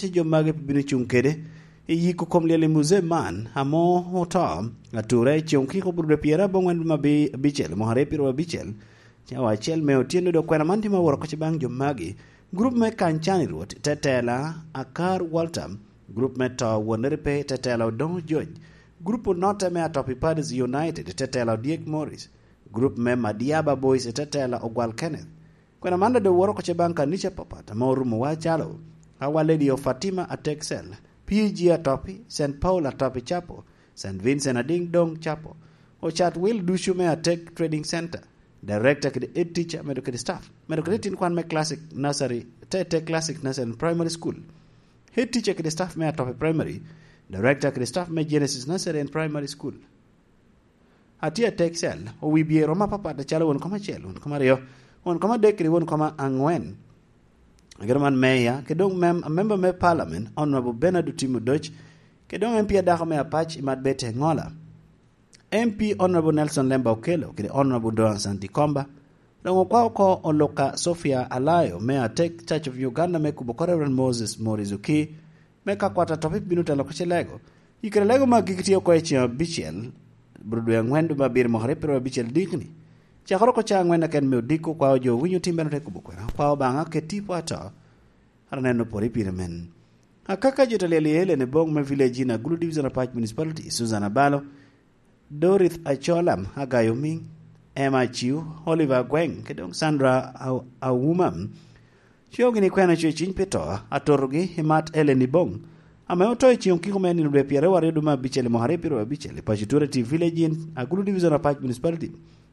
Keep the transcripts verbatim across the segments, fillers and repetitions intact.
ci jo magi bino cuŋ kede i yiko kom lyel i muzee man amo oto atura i ceŋ okiko burudwe pyera aboŋwen ma bi abicel mwaka aryo pyera abicel, cawa acel me otyeno. Dok kwena man tye ma woro kocci baŋ jo magi: gurup me Kancani Rwot, tetela Akar Walter, gurup me To Wonere Pe, tetela Odoŋo Joj, gurup onotte me Atopi Padis United, tetela Odyek Morris, gurup me Madiaba Boys, tetela Ogwal Kenneth. Kwena man doŋ woro kocci baŋ kanica apapat ame orumowa calo Our Lady of Fatima Atek Cell, P G Atopi, Saint Paul Atopi Chapel, Saint Vincent Ading Dong Chapel, Ochat Will ducu me Atek Trading Center, Director kede Head Teacher, medo kede staff, medo kede tin kwan me Classic Nursery, te, te Classic Nursery and Primary School, Head Teacher kede staff me Atopi Primary, Director kede staff me Genesis Nursery and Primary School. Atye Atek Cell, owi bye romo apapat acalo won kom acel, won kom aryo, won kom adek kede won kom aŋwen. Agero man meya, kede doŋ mem-, member me parliament, Honorable Bernard Otim Odoc, kede doŋ M P adako me Apac, Imat Betty Engola, M P Honorable Nelson Lemba Okello, kede Honorable Doan Santi Komba, doŋ okwao oko Oluka Sofia Alayo me Atek Church of Uganda me kubo oko Reverend Moses Morris Oki, me ka kwat Atopi bino telo oko Cilego. I kare lego me agikki tye oko i ceŋ abicel, bro dwe aŋwen dwe me abiro mwaka aryo pyeraryo abicel dikni. Cakere oko cawa aŋwen aken me odiko, okwao jo winyo tim bene ote kubo kwena, okwao Obaŋa ket tipo ato, ara neno pore pire men. Akaka jo ta lyel i Elen i boŋ me Village Inn, Agulu Division Apac Municipality, Susan Abalo, Dorith Acholam, Agayo Miŋ, Emma Aciu, Oliver Agweng, kede doŋ Sandra Au-, Auma, cweo gini kwena cwe ciny pi to, atotogi Imat Elen Iboŋ, ame oto i ceŋ okiko me nino dwe pyeraryo aryo dwe me abicel i mwaka aryo pyeraryo abicel i paco Tureti Village Inn, Agulu Division Apac Municipality.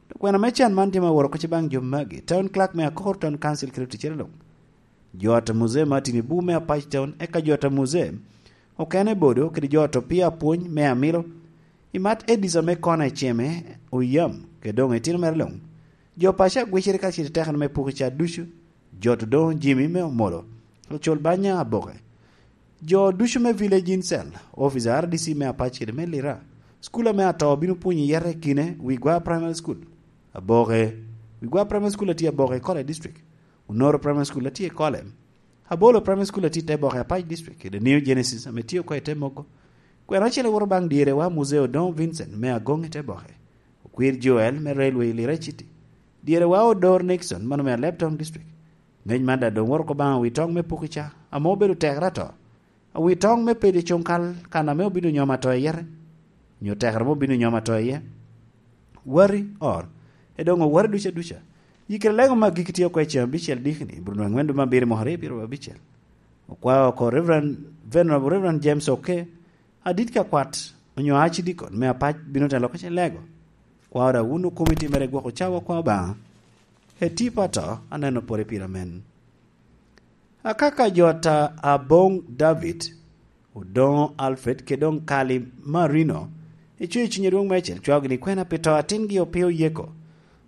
Dok kwena me can man tye ma woro kocci baŋ jo magi: Town Clerk me Akor Town Council kede oticcere luŋ, jo ata muzee Martin Ibu me Apac Town, eka jo ata muzee okene Bodo, kede jo ata opii apwony me Amilo, Imat Edis ame kona i Ceme, Oyam, kede doŋ itino mere luŋ. Jo paco agwicere ka cito tekere me puko ca ducu, jo ata doŋ Jimmy me Omolo, ocul banya Aboke. Jo ducu me Village Inn Cell, officer R D C me Apac kede me Lira, cukula me ato bino pwonyo yete i kine Wigwa Primary School, Aboke. Wigwa Primary School atye Aboke i Kole District. Onoro Primary School atye i Kole. Abolo Primary School atye i te Boke Apac District, kede New Genesis ame tye oko i te Mogo. Kwena ocele woto baŋ dyerewa Muzee Odoŋo Vincent me Agoŋ i te Boke, Okwir Joel me Railway Lira City, dyerewa Odor Nixon mano me Aleb Town District. Ŋec man daŋ doŋ woto oko baŋ Awitoŋ me Pukica, ame obedo tekere ato. Awitoŋ me Pedi Cuŋkal, kan ame obino nyom ato i yete, onyo tekere ame obino nyom ato iye. Wari, or, e doŋ owari duca duca. Yikere lego me agikki tye oko i ceŋ abicel dikni, Bruno aŋwen dwe me abiro mwaka aryo pyeraryo abicel. Okwao oko Reverend, Venerable Reverend James Oke, adit ka kwat, onyo Archdeacon me Apac bino telo oko Cilego. Kwao daŋ wun okomiti mere gwoko cawa kwa Obaŋa. Eti pato, aneno pore pire amen. Akaka jo ata Aboŋ David, Odoŋo Alfred, kede doŋ Kali Marino, icweyo i cunye dwoŋ meicel, cwao gini kwena pi to atingi Opio Yeko,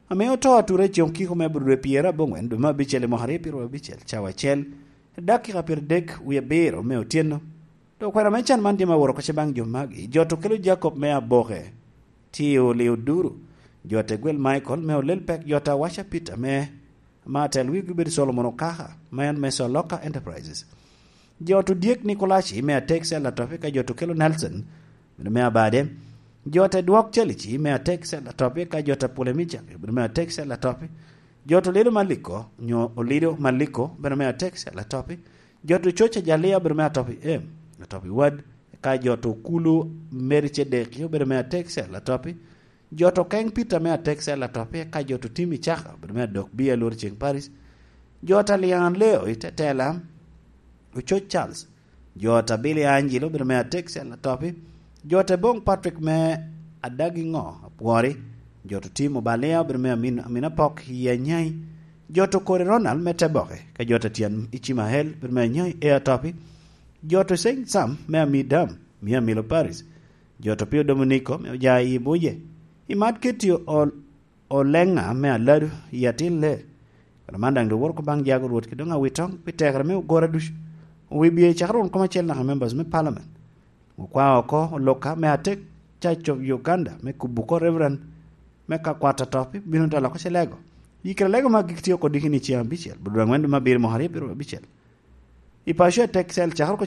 ame oto atura i ceŋ okiko me Abudu dwe pyeraryo aboŋwen dwe me abicel i mwaka aryo pyeraryo abicel, cawa acel, dakika pyeradek wie abiro me otyeno. Dok kwena me can man tye ma woro kocce baŋ jo magi: jo ata Okello Jacob me Aboke, tye i Oli Oduru, jo ata Egwel Michael me Olel Pek, jo ata Awaca Peter me, ma atel wigi obedo Solomon Okaka, ma en me Soloka Enterprises. Jo ata Odyek Nikolaci me Atek Cell Atopi, ka jo ata Okello Nelson, bene me Abade. Jo ata Edwok Calici me Atek Cell Atopi, ka jo ata Pule Mijak, bene me Atek Cell Atopi. Jo ata Olido Maliko, onyo Olido Maliko, bene me Atek Cell Atopi. Jo ata Ococa Jalia, bene me Atopi M, Atopi Wad, ka jo ata Okulu Mary Cedeki, obedo me Atek Cell Atopi. Jo ata Okeng Peter me Atek Cell Atopi, eka jo ata Otim Icaka, obedo me Adok Bia, Lworo Ceng Paris. Jo ata Lian Leo i Tetela, Ococ Charles. Jo ata Billy Angelo, obedo me Atek Cell Atopi. Jo ata Boŋ Patrick me Adagi Ŋo, Apwori. Jo ata Otim Obalia, obedo me Amin, Amin Apok i Anyai. Jo ata Okori Ronald me Teboke, ka jo ata Tyen Icimahel, obedo me Anyai e Atopi. Jo ata Ceng Sam me Amidam, me Amilo Paris. Jo ata Opio Dominiko me Ojayi i Buje. Imat Ketty Ol-, Oleŋa me Aladu i Atin Lee. Kara man daŋ doŋ woro oko baŋ jago Rwot kede doŋ Awitoŋ pi tekere me ogora ducu. Owi bye cakere won kom acel naka members me parliament. Okwao oko Oluka me Atek Church of Uganda me kubo oko Reverend me ka kwat Atopi bino telo oko Cilego. Yikere lego me agikki tye oko dikini ceŋ abicel, Abudu aŋwen dwe me abiro mwaka aryo pyeraryo abicel. I paco Atek Cell cakere oko